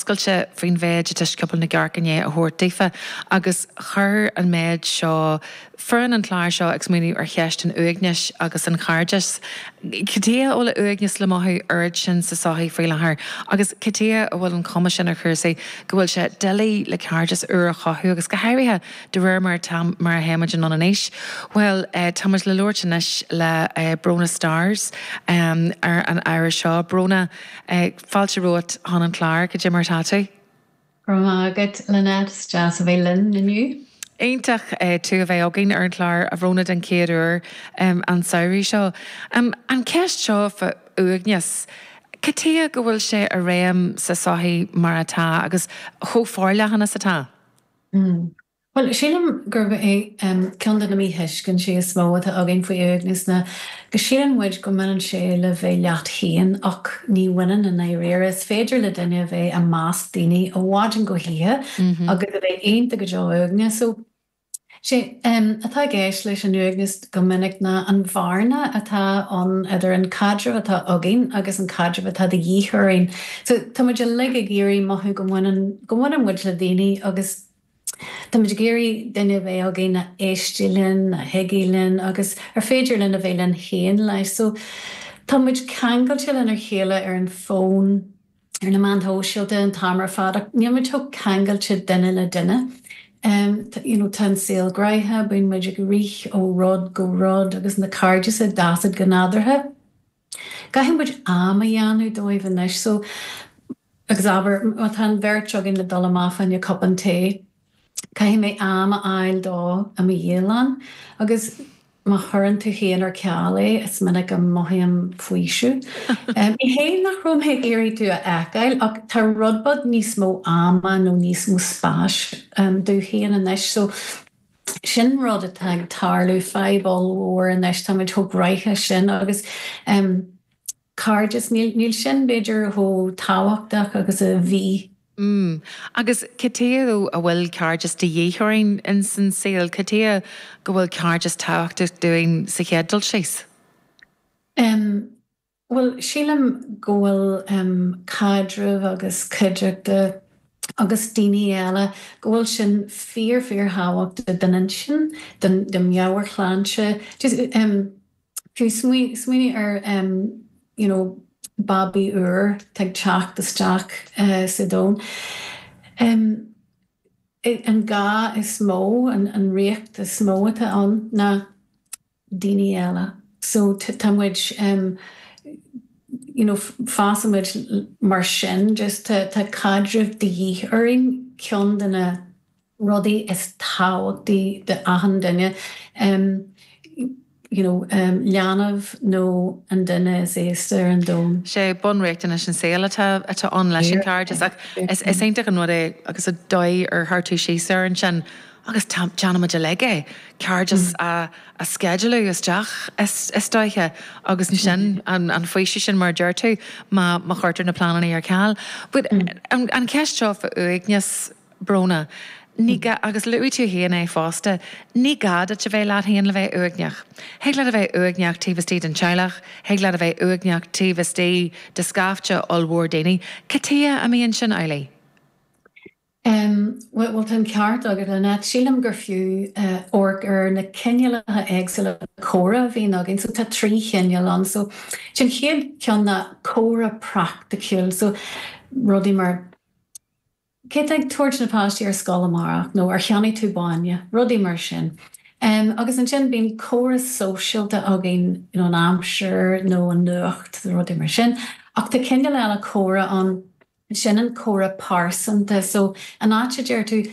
oscailte faoin mhéid atá Scioból na gCearc i ndiaidh a thabhairt daofa agus chuir an méid seo foireann an chláir seo ag smaoineamh ar cheist an uaignis agus an chairdis. Cad chuige a bhfuil uaigneas le mothú oiread sin sa sochaí faoi láthair agus cad chuige a bhfuil an chuma sin ar chúrsaí go bhfuil sé doiligh le cairdeas úr a chothú agus go háirithe de réir mar atá mar a théimid anonn in aois. Bhuel, tá muid le labhairt anois le Bróna Starrs ar an ábhar seo. Bróna, fáilte romhat chun an chláir, cad é mar atá tú? Go raibh maith agat, Lynette, is deas a bheith linn inniu. Iontach tú a bheith againn ar an chlár, a Bhróna, den chéad uair an samhradh seo. An cheist seo fá uaigneas, cad chuige go bhfuil sé i réim sa sochaí mar atá agus chomh forleathan is atá? Bhuel, sílim gurb é ceann de na míthuiscintí is mó atá againn faoi uaigneas ná go síleann muid go mbaineann sé le bheith leat féin ach ní bhaineann i ndáiríre. Is féidir le duine a bheith i measc daoine ó mhaidin go hoíche agus a bheith iontach go deo uaigneach. So, sé atá i gceist leis an uaigneas go minic ná an bhearna atá ann idir an caidreamh atá againn agus an caidreamh atá de dhíth orainn. So, tá muid uilig ag iarraidh mothú go mbaineann go mbaineann muid le daoine agus Táimid ag iarraidh duine a bheith againn a éistfidh linn, a thuigfidh linn agus ar féidir linn a bheith linn féin leis. So, tá muid ceangailte lenár chéile ar an bhfón, ar na meáin shóisialta an t-am ar fad ach níl muid chomh ceangailte duine le duine. You know, tá an saol gnoitheach, bíonn muid ag rith ó rud go rud agus na cairdis ag dul go nádúrtha. Caithfidh muid am a dhéanamh dóibh anois so agus abair má tá an bheirt againn le dul amach fá choinne cupán tae, caithfidh mé am a fháil dó i mo dhialann agus má chuireann tú féin ar ceal é, is minic a mothaím faoiseamh. Ní hé nach raibh mé ag iarraidh tú a fheiceáil ach tá rud beag níos mó ama nó níos mó spáis domh féin anois so Sin rud atá ag tarlú, fadhb ollmhór anois, táimid chomh gnoitheach sin agus cairdeas, níl sin b'fhéidir chomh tábhachtach agus a bhí. Mm. Agus cad chuige though a bhfuil cairdeas de dhíth orainn ins an saol? Cad chuige go bhfuil cairdeas tábhachtach dúinn sa chéad dul síos? Em. Bhuel, sílim go bhfuil caidreamh agus cuideachta agus daoine eile, go bhfuil sin fíor fíor thábhachtach don intinn, don meabhairshláinte. Just fiú smaoinigh ar you know babaí úr atá ag teacht isteach sa domhan. An gá is mó, an riocht is mó atá ann ná daoine eile. So tá muid em you know fásann muid mar sin just tá tá caidreamh de dhíth orainn, ceann de na rudaí is tábhachtaí d'achan duine em you know em leanbh nó an duine is aosta ar an domhan. Sé bunriachtanais an saoil atá atá ann leis an chairdeas ach is is iontach an rud é agus an dóigh ar chuir tú síos air ansin Agus déanaimid uilig é, cairdeas a sceidealú isteach is dóiche agus ansin an faoiseamh sin mar a deir tú má chuirtear na pleananna ar ceal. But an cheist seo fá uaigneas, Bróna, ní gá, agus luaigh tú féin é fosta, ní gá duit a bheith leat féin le bheith uaigneach. Thig leat a bheith uaigneach taobh istigh den teaghlach, thig leat a bheith uaigneach taobh istigh de scaifte ollmhór daoine. Cad chuige a mbíonn sin amhlaidh? Bhuel, tá an ceart agat, Lynette. Sílim gur fiú amharc ar na cineálacha éagsúla comhrá a bhíonn againn. So tá 3 chineál ann. So an chéad cheann ná comhrá praiticiúil. So rudaí mar cé atá ag tabhairt na páistí ar scoil amárach nó ar cheannaigh tú bainne, rudaí mar sin. Agus ansin bíonn comhrá sóisialta againn, you know, an aimsir nó an nuacht, rudaí mar sin. Ach tá cineál eile comhrá ann. Sin an comhrá pearsanta. So, an áit a deir tú,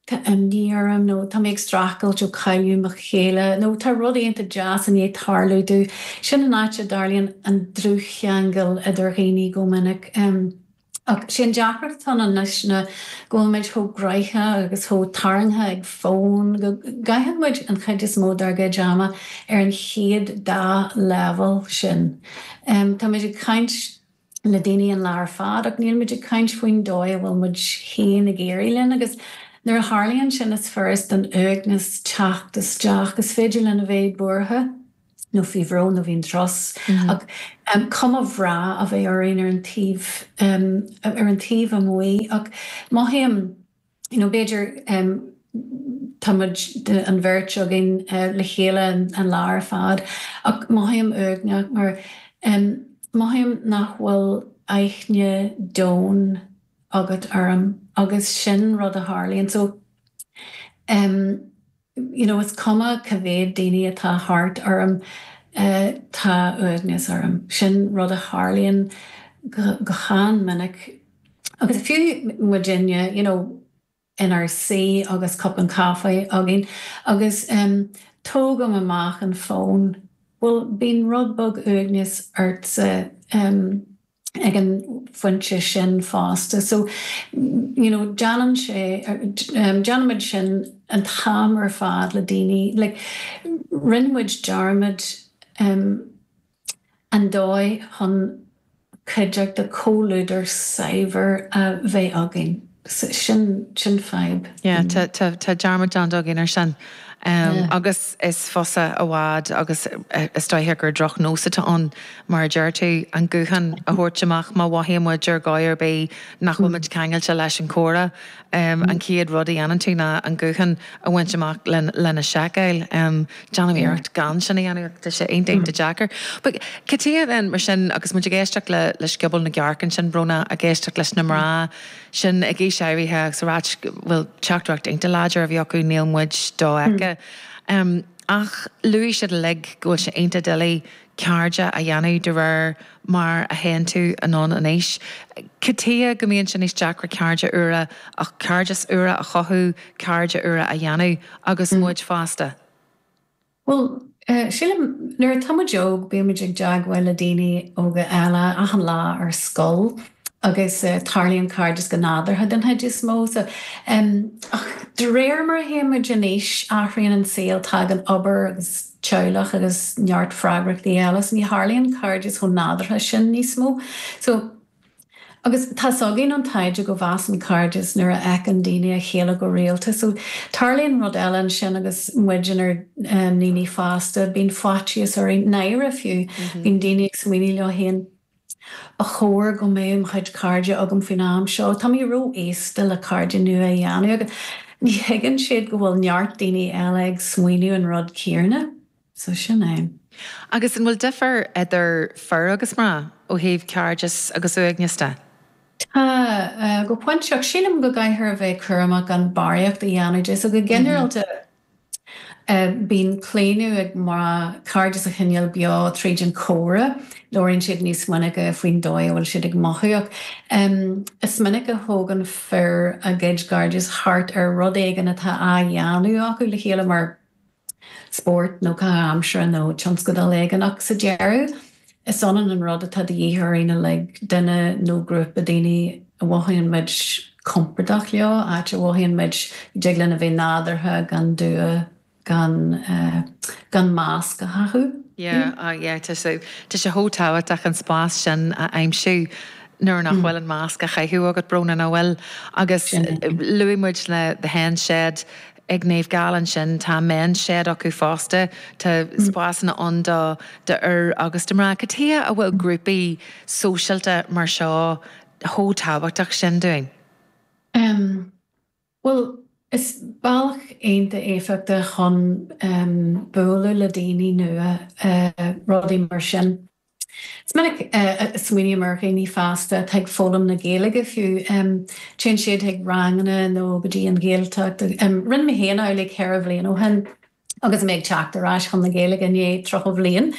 tá imní orm nó tá mé ag streachailt ó cailleadh mo chéile nó tá rud iontach deas i ndiaidh tarlú domh, sin an áit a dtarlaíonn an dlúthcheangal idir dhaoine go minic. Ach sé an deacracht atá ann anois ná go bhfuil muid chomh gnoitheach agus chomh tarraingthe ag fón go gcaitheann muid an chuid is mó dár gcuid ama ar an chéad dá leibhéal sin. Tá muid ag caint le daoine an lá ar fad ach níl muid ag caint faoin dóigh a bhfuil muid féin ag éirí linn agus nuair a tharlaíonn sin is furast don uaigneas teacht isteach. Is féidir linn a bheith buartha. nó faoi bhrón nó faoin strus ach cuma bhreá a bheith orainn ar an taobh ar an taobh amuigh ach mothaím you know b'fhéidir tá muid an bheirt againn le chéile an lá ar fad ach mothaím uaigneach mar mothaím nach bhfuil aithne domhain agat orm agus sin rud a tharlaíonn so you know is cuma cá mhéad daoine atá thart orm tá uaigneas orm. Sin rud a tharlaíonn go han-mhinic agus fiú muidinne you know inár suí agus cupán caife againn agus tógaim amach an fón, bhuel bíonn rud beag uaigneas ortsa ag an phointe sin fosta. So, you know, déanann sé, déanaimid sin an t-am ar fad le daoine, like, rinne muid dearmad an dóigh chun cuideachta, comhluadar saibhir a bheith againn. Sin, sin fadhb. Yeah, tá, tá, tá dearmad déanta againn ar sin. Agus is fusa i bhfad agus is dóiche gur drochnós atá ann, mar a deir tú, an guthán a thabhairt amach má mhothaíonn muid ar dhóigh ar bith nach bhfuil muid ceangailte leis an chomhrá. An chéad rud a dhéanann tú ná an guthán a bhaint amach lena sheiceáil. Déanaim iarracht gan sin a dhéanamh ach tá sé iontach iontach deacair. But cad chuige then mar sin agus muid ag éisteacht le le Scioból na gCearc ansin, Bróna, ag éisteacht leis na mná sin ag aois áirithe agus ag ráit bhuel teachtaireacht iontach láidir a bhí acu níl muid dofheicthe. Ach luaigh siad uilig go bhfuil sé iontach doiligh cairde a dhéanamh de réir mar a théann tú anonn in aois. Cad chuige go mbíonn sé níos deacra cairde úra a cairdeas úra a chothú, cairde úra a dhéanamh agus muid fásta? Bhuel, sílim, nuair atá muid óg, bíonn muid ag teagmháil le daoine óga eile achan lá ar scoil agus tarlaíonn cairdeas go nádúrtha den chuid is mó. So, ach de réir mar a théann muid in aois, athraíonn an saol, tagann obair agus teaghlach agus neart freagrachtaí eile, so ní tharlaíonn cairdeas chomh nádúrtha sin níos mó. So, agus tá's againn ón taighde go bhfásann cairdeas nuair a fheiceann daoine a chéile go rialta. So, tarlaíonn rud eile ansin agus muid inár ndaoine fásta, bíonn faitíos orainn, náire fiú, bíonn daoine ag smaoineamh leo féin, ba chóir go mbeadh mo chuid cairde agam faoin am seo, tá mé ró-aosta le cairde nua a dhéanamh agus ní thuigeann siad go bhfuil neart daoine eile ag smaoineamh an rud céanna. So sin é. Agus an bhfuil difear idir fir agus mná ó thaobh cairdeas agus uaigneas de? Tá, go pointe, ach sílim go gcaithfear a bheith cúramach gan barraíocht a dhéanamh de. So go ginearálta bíonn claonadh ag mná cairdeas a choinneáil beo tríd an chomhrá, labhraíonn siad níos minice faoin dóigh a bhfuil siad ag mothú ach is minic a thógann fir a gcuid cairdeas thart ar rud éigin atá á dhéanamh acu le chéile mar spórt nó caitheamh aimsire nó tionscadal éigin ach sa deireadh is ionann an rud atá de dhíth orainn uilig, duine nó grúpa daoine a mhothaíonn muid compordach leo, áit a mhothaíonn muid go dtig linn a bheith nádúrtha gan dua, gan gan masc a chaitheamh. Yeah, ah yeah, tá sé tá sé chomh tábhachtach an spás sin a aimsiú nuair nach bhfuil an masc á chaitheamh agat, Bróna, nach bhfuil? Agus luaigh muid na The Hen Shed Ag Naomh Gall ansin tá Men's Shed acu fosta. Tá spásanna ann do d'fhir agus do mná. Cad chuige a bhfuil grúpaí sóisialta mar seo chomh tábhachtach sin dúinn? Em, bhuel, is bealach iontach éifeachtach chun bualadh le daoine nua, rudaí mar sin. Is minic a smaoiním ar dhaoine fásta atá ag foghlaim na Gaeilge fiú. Téann siad chuig ranganna nó go dtí an Ghaeltacht. Rinne mé féin amhlaidh 4 bhliain ó shin agus mé ag teacht ar ais chun na Gaeilge i ndiaidh 30 bhliain.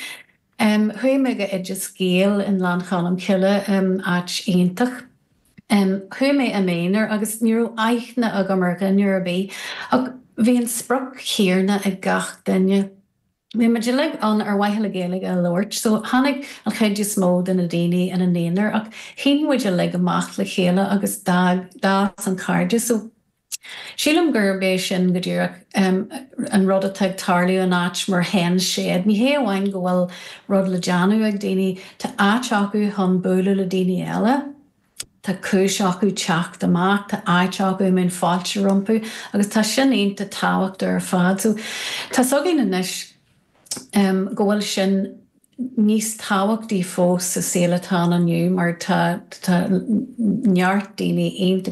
Chuaigh mé go Oideas Gael i nGleann Cholm Cille, áit iontach. Chuaigh mé i m'aonar agus ní raibh aithne agam ar dhuine ar bith ach bhí an sprioc chéanna ag gach duine. Bhí muid uilig ann ar mhaithe le Gaeilge a labhairt so tháinig an chuid is mó de na daoine ina n-aonar ach shín muid uilig amach le chéile agus d'fhás an cairdeas so sílim gurb é sin go díreach an rud atá ag tarlú in áit mar Hen Shed. Ní hé amháin go bhfuil rud le déanamh ag daoine, tá áit acu chun bualadh le daoine eile. Tá cúis acu teacht amach, tá áit acu a mbíonn fáilte rompu agus tá sin iontach tábhachtach ar fad. So tá's againn anois. Go bhfuil sin níos tábhachtaí fós sa saol atá ann inniu mar tá tá neart daoine iontach.